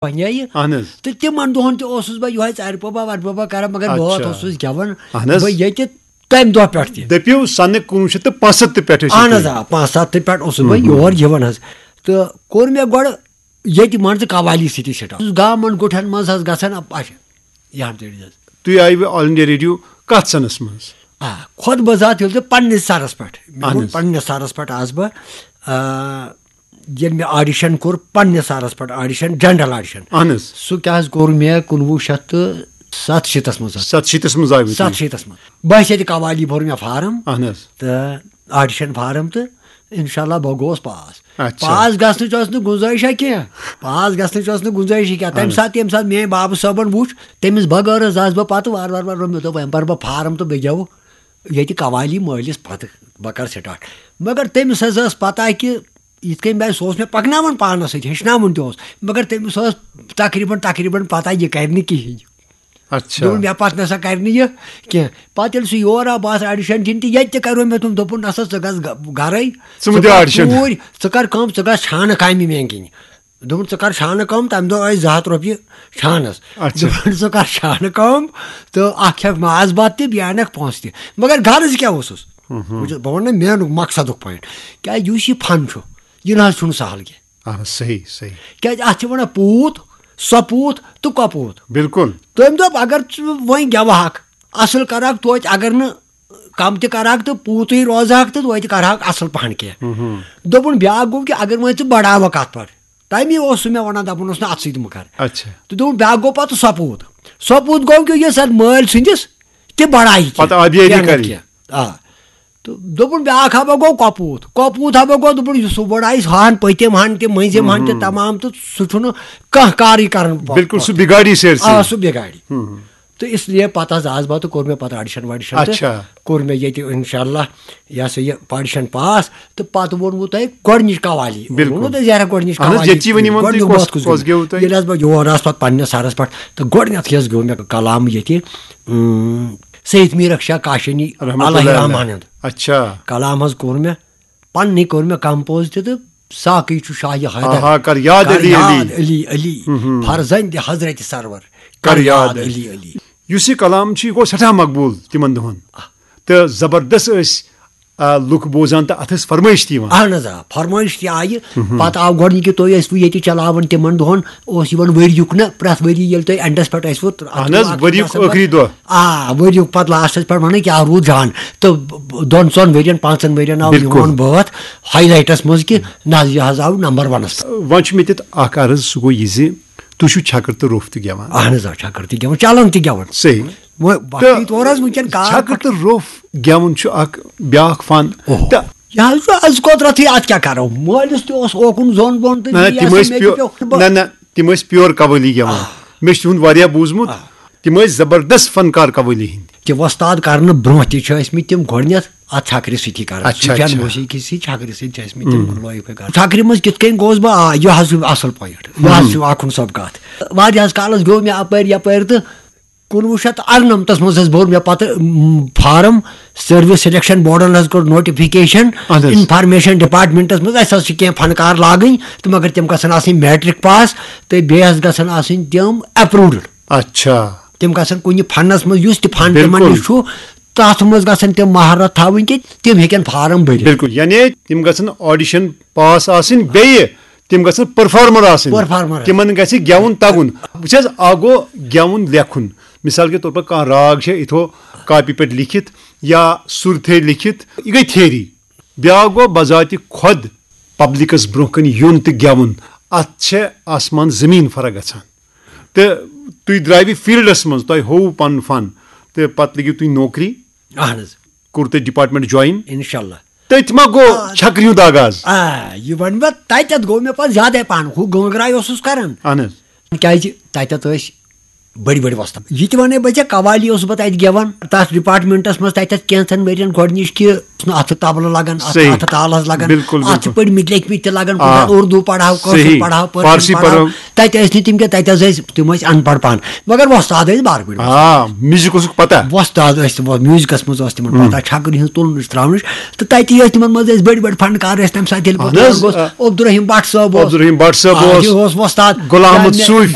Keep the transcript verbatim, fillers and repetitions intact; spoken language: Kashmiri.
پنجایہِ۔ اہن حظ۔ تہٕ تِمن دۄہن تہِ اوسُس بہٕ یِہوٚے ژارِ پوبا ورِ پوبا کران، مگر بہت اچھا۔ اوسُس گٮ۪وان۔ اہن حظ۔ بہٕ ییٚتہِ تمہِ دۄہ پٮ۪ٹھ تہِ۔ دٔپِو سنہٕ کُنوُہ شیٚتھ تہٕ پانٛژھ ہَتھ تہٕ پٮ۪ٹھٕ ٲسِو اہن حظ، تُہۍ۔ آ، پانٛژھ ہَتھ تہٕ پٮ۪ٹھ اوسُس بہٕ یور یِوان حظ۔ تہٕ کوٚر مےٚ گۄڈٕ ییٚتہِ منٛزٕ قوالی سۭتی سٹارٹ۔ اوسُس گامن گُٹھن منٛز حظ گژھان، اچھا، یہِ ہن تیٚلہِ حظ۔ تُہۍ آیوٕ آل انڈیا ریڈیو کتھ سنس منٛز؟ آ، خۄد بذات ییٚلہِ تہِ پننِس سرس پٮ۪ٹھ، مےٚ اہن ووٚن حظ۔ پننِس سرس پٮ۪ٹھ آس بہٕ، آ، ییٚلہِ مےٚ آڈیشن کوٚر پننِس سرس پٮ۪ٹھ، آڈیشن، جنرل آڈیشن، اہن حظ۔ سُہ کیٛاہ حظ کوٚر مےٚ کُنوُہ شیٚتھ تہٕ ستہٕ شیٖتس منٛز حظ۔ ستہٕ شیٖتس منٛز آیوٕ تُہۍ۔ ستہٕ شیٖتس منٛز۔ بہٕ حظ ییٚتہِ قوالی بوٚر مےٚ فارم اہن حظ۔ تہٕ آڈیشن فارم تہٕ انشاءاللہ بہٕ گوس پاس۔ اچھا۔ پاس گژھنٕچ ٲس نہٕ گُنجٲیشا کینٛہہ، پاس گژھنٕچ ٲس نہٕ گُنجٲیشی کینٛہہ۔ تمہِ ساتہٕ، ییٚمہِ ساتہٕ میٲنۍ بابہٕ صٲبن وُچھ، تٔمِس بغٲر حظ آس بہٕ پتہٕ وارٕ وارٕ وارٕ وارٕ، مےٚ دوٚپ وۄنۍ پرٕ بہٕ فارم تہٕ بہٕ گٮ۪وٕ ییٚتہِ قوالی مٲلِس پتہٕ، بہٕ کرٕ سٹارٹ۔ مگر تٔمِس حظ ٲس پتہ کہِ یِتھ کٔنۍ بہٕ، سُہ اوس مےٚ پکناوان پانس سۭتۍ، ہیٚچھناوُن تہِ اوس، مگر تٔمِس ٲس تقریباً تقریباً پتہ یہِ کرِ نہٕ کِہیٖنۍ۔ اچھا۔ دوٚپُن، مےٚ پتہٕ نسا کرِ نہٕ یہِ کینٛہہ۔ پتہٕ ییٚلہِ سُہ یور آو، بہٕ آس آڈیشن دِنہِ تہِ، ییٚتہِ تہِ کرو مےٚ تِم، دوٚپُن، نسا ژٕ گژھ گرے، ژٕ مہٕ دِ آڈیشن۔ کوٗرۍ، ژٕ کر کٲم، ژٕ گژھ چھانہٕ کامہِ میانہِ کِنۍ۔ دوٚپُن، ژٕ کر چھانہٕ کٲم، تمہِ دۄہ ٲسۍ زٕ ہتھ رۄپیہِ چھانس۔ اچھا۔ دوٚپُن، ژٕ کر چھانہٕ کٲم تہٕ اکھ کھٮ۪کھ ماز بتہٕ تہِ، بیٚیہِ انکھ پونٛسہٕ تہِ۔ مگر غرض کیٛاہ اوسُس؟ بہٕ چھُس، بہٕ ونہٕ نہ میانُک مقصدُک پوینٹ، کیٛازِ یُس یہِ فن چھُ، یہِ نہ حظ چھُنہٕ سہل کینٛہہ۔ اہن حظ، صحیح صحیح۔ کیٛازِ اتھ چھِ ونان پوٗت، سۄپوٗت تہٕ کۄپوٗت۔ بالکل۔ تٔمۍ دوٚپ، اگر ژٕ وۄنۍ گٮ۪وہاکھ، اصل کرہاکھ توتہِ، اگر نہٕ کم تہِ کرہاکھ تہٕ پوٗتٕے روزہاکھ تہٕ توتہِ کرہاکھ اصل پہن کینٛہہ۔ دوٚپُن، بیٛاکھ گوٚو کہِ اگر وۄنۍ ژٕ بڑاوکھ اتھ پٮ۪ٹھ، تمی اوس سُہ مےٚ ونان، دپان اوس نہٕ اتھ سۭتۍ مہ کر۔ اچھا۔ تہٕ دوٚپُن، بیٛاکھ گوٚو پتہٕ سۄپوٗت۔ سۄپوٗت گوٚو کہِ یُس اتھ مٲلۍ سٕنٛدِس تہِ بڑایہِ کینٛہہ، پتہٕ آبیٲری کینٛہہ نتہٕ کرٕنۍ۔ کینٛہہ۔ آ۔ تہٕ دوٚپُن، بیٛاکھ ہا بہٕ گوٚو کۄپوٗت۔ کۄپوٗت ہا بہٕ گوٚو، دوٚپُن، یُس سُہ بڑایہِ ہان پٔتِم ہن تہِ مٔنٛزِم ہن تہِ تمام، تہٕ سُہ چھُنہٕ کانٛہہ کارٕے کران۔ بالکل، سُہ بگاڑی سیر آ، سے۔ سُہ بگاڑِ۔ تہٕ اس لیے پتہٕ حظ آس بہٕ تہٕ کوٚر مےٚ پتہٕ آڈیشن واڈیشن تہٕ اچھا۔ کوٚر مےٚ ییٚتہِ انشاءاللہ، یہِ ہسا یہِ آڈیشن پاس۔ تہٕ پتہٕ ووٚنوٕ تۄہہِ گۄڈٕنِچ قوالی۔ بالکل۔ ووٚنوٕ تۄہہِ زیرا گۄڈٕنِچ اہن حظ، قوالی۔ ییٚتہِ چی ؤنِو وۄنۍ تُہۍ گۄڈٕنیُک کۄس، بٲتھ کُس کۄس گیوٚو؟ گیوٚوٕ تۄہہِ؟ ییٚلہِ حظ بہٕ یور آس پتہٕ پننِس سرس پٮ۪ٹھ، تہٕ گۄڈٕنیتھٕے حظ گیوٚو مےٚ کلام ییٚتہِ، اۭں، سید میٖرک شاہ کاشانی، رحمتہ اللہ اللہ رحمان علیہ۔ ہُنٛد۔ اچھا۔ کلام حظ کوٚر مےٚ، پننی کوٚر مےٚ کمپوز تہِ تہٕ ساقی چھُ شاہ حیدر۔ آہا، کر یاد کر علی یاد علی۔ علی علی، فرزند حضرت سرور۔ کر یاد علی۔ علی علی۔ یُس یہِ کلام چھُ، یہِ گوٚو سٮ۪ٹھاہ مقبوٗل تِمن دۄہن۔ تہٕ زبردست ٲسۍ، آ، لُکھ بوزان تہٕ اتھ ٲس فرمٲیش تہِ یِوان۔ اہن حظ، آ، فرمٲیش تہِ آیہِ۔ پتہٕ آو گۄڈٕنِکہِ تُہۍ ٲسوٕ ییٚتہِ چلاوان تِمن دۄہن، اوس یِوان ؤریُک نہ، پرٛٮ۪تھ ؤری ییٚلہِ تۄہہِ اینڈس پٮ۪ٹھ ٲسوٕ، اتھ اہن حظ، چھُ اکھ ؤریُک آسان ٲخری دۄہ۔ آ، ؤریُک پتہٕ لاسٹس پٮ۪ٹھ ونان کیٛاہ روٗد جان۔ تہٕ دۄن ژۄن ؤرین پانٛژن ؤرین آو بالکل۔ یِوان بٲتھ ہائی لائٹس منٛز کہِ نہ حظ، یہِ حظ آو نمبر ونس پٮ۪ٹھ۔ وۄنۍ چھُ مےٚ تیُتھ اکھ عرض، سُہ گوٚو یہِ زِ تُہۍ چھِو چھکر تہٕ روٚف تہِ گٮ۪وان۔ اہن حظ، آ، چھکر تہِ گٮ۪وان، چلان تہِ گٮ۪وان۔ صحیح۔ وۄنۍ وقتی طور حظ وٕنکیٚن کار چھکر تہٕ روٚف گٮ۪وُن چھُ اکھ بیاکھ فن۔ اوہ۔ تہٕ یہِ حظ چھُ از قۄدرتٕے، اتھ کیٛاہ کرو؟ مٲلِس تہِ اوس اوکُن زوٚن بۄن تہٕ نہ، یہِ تِم ہسا ٲسۍ مےٚ پیو-، تہِ پیوٚو۔ نہ، نہ، تِم ٲسۍ پیور قوٲلی گٮ۪وان۔ مےٚ چھُ تِہُنٛد واریاہ بوٗزمُت۔ تِم ٲسۍ زبردست فنکار قوٲلی ہٕنٛدۍ۔ تہِ وۄستاد کرنہٕ برونٛہہ تہِ چھِ ٲسۍ مٕتۍ تِم گۄڈٕنیتھ اتھ چھکرِ سۭتی کران۔ اچھا، سفیان اچھا۔ موسیقی سۭتۍ چھکرِ سۭتۍ چھِ ٲسۍ مٕتۍ تِم لٲگۍ پٲٹھۍ کران۔ چھکرِ منٛز کِتھ کٔنۍ گوس بہٕ؟ آ، یہِ حظ چھُ اصل پوینٹ، یہِ حظ چھُ اکھ ہُن سۄ کتھ۔ واریاہس کالس گوٚو مےٚ اپٲرۍ یپٲرۍ تہٕ کُنوُہ شیٚتھ تہٕ ارنمتس منٛز حظ بوٚر مےٚ پتہٕ، م، فارم۔ سروس سلیکشن بورڈن حظ کوٚر نوٹیفکیشن، اہن حظ۔ انفارمیشن ڈپارٹمنٹس منٛز، اسہِ حظ چھِ کینٛہہ فنکار لاگٕنۍ تہٕ مگر تِم گژھن آسٕنۍ میٹرک پاس تہٕ بیٚیہِ حظ گژھن آسٕنۍ تِم اپروڈ۔ اچھا۔ تِم گژھن کُنہِ فنس منٛز، یُس تہِ فن تِمن بالکل۔ نِش چھُ، تتھ منٛز گژھن تِم مہارت تھاوٕنۍ کہِ تِم ہیٚکن فارم بٔرِتھ۔ بالکل، یعنی تِم گژھن آڈیشن پاس آسٕنۍ، بیٚیہِ تِم گژھن پرفارمر آسٕنۍ۔ پرفارمر۔ تِمن گژھِ گٮ۪وُن تگُن۔ وٕچھ حظ، اکھ گوٚو گٮ۪وُن لیکھُن، مثال کے طور پر کانٛہہ راگ چھِ یِتھو کاپی پٮ۪ٹھ لیکھِتھ یا سُر تھٲوِتھ لیکھِتھ، یہِ گٔے تھیری۔ بیٛاکھ گوٚو بذاتِ خۄد پبلکس برونٛہہ کنہِ یُن تہٕ گٮ۪وُن۔ اتھ چھےٚ آسمان زمیٖن فرق گژھان۔ تہٕ تُہۍ درٛاوِ فیلڈس منٛز، تۄہہِ ہووُ پنُن فن، تہٕ پتہٕ لٔگِو تُہۍ نوکری، اہن حظ، کوٚر تۄہہِ ڈپارٹمنٹ جوین۔ انشاءاللہ۔ تٔتھۍ ما گوٚو چھکرِ ہُنٛد آغاز؟ آ، یہِ ونہٕ بہٕ، تتٮ۪تھ گوٚو مےٚ پتہٕ زیادے پہن، ہُہ گٲنگراے اوسُس کران۔ اہن حظ۔ کیازِ تتٮ۪تھ ٲسۍ بٔڑۍ بٔڑۍ وۄستاد۔ یہِ تہِ وَنے بہٕ ژےٚ، قوالی اوسُس بہٕ تَتہِ گٮ۪وان تَتھ ڈپارٹمنٹس منٛز، تَتہِ اتھ کینٛژن ؤرین گۄڈٕنِچ کہِ اوس نہٕ اَتھٕ طبلہٕ لگان، اَتھٕ صحیح۔ اَتھٕ تالس لگان، بِلکُل، اَتھ چھِ بِلکُل۔ پٔرمٕتۍ لیکھمٕتۍ تہِ لگان، آ۔ کُنہِ ساتہٕ اردو پرہاو، کٲشُر صحیح۔ پرہاو، پٔرشن فارسی پرہاو۔ پرہاو۔ تَتہِ ٲسۍ نہٕ تِم کینٛہہ، تَتہِ حظ ٲسۍ، تِم ٲسۍ اَن پڑھ پہن، مگر وۄستاد ٲسۍ بارٕ پٲٹھۍ وۄستاد۔ آ، میوزک اوسُکھ پتہ۔ وۄستاد ٲسۍ تِم، میوزکس منٛز ٲس تِمن ہم۔ پتہ، چھکرِ ہٕنٛز تُلنٕچ تراونٕچ۔ تہٕ تَتی ٲسۍ تِمن منٛز ٲسۍ بٔڑۍ بٔڑۍ فنکار ٲسۍ تَمہِ ساتہٕ، ییٚلہِ بہٕ اہن حظ، تور گوس، آ۔ عبدالرحیم بٹ صٲب اوس۔ عبدالرحیم بٹ صٲب آ، اوس۔ یہِ اوس وۄستاد۔ غلام احمد یا مےٚ صوفی۔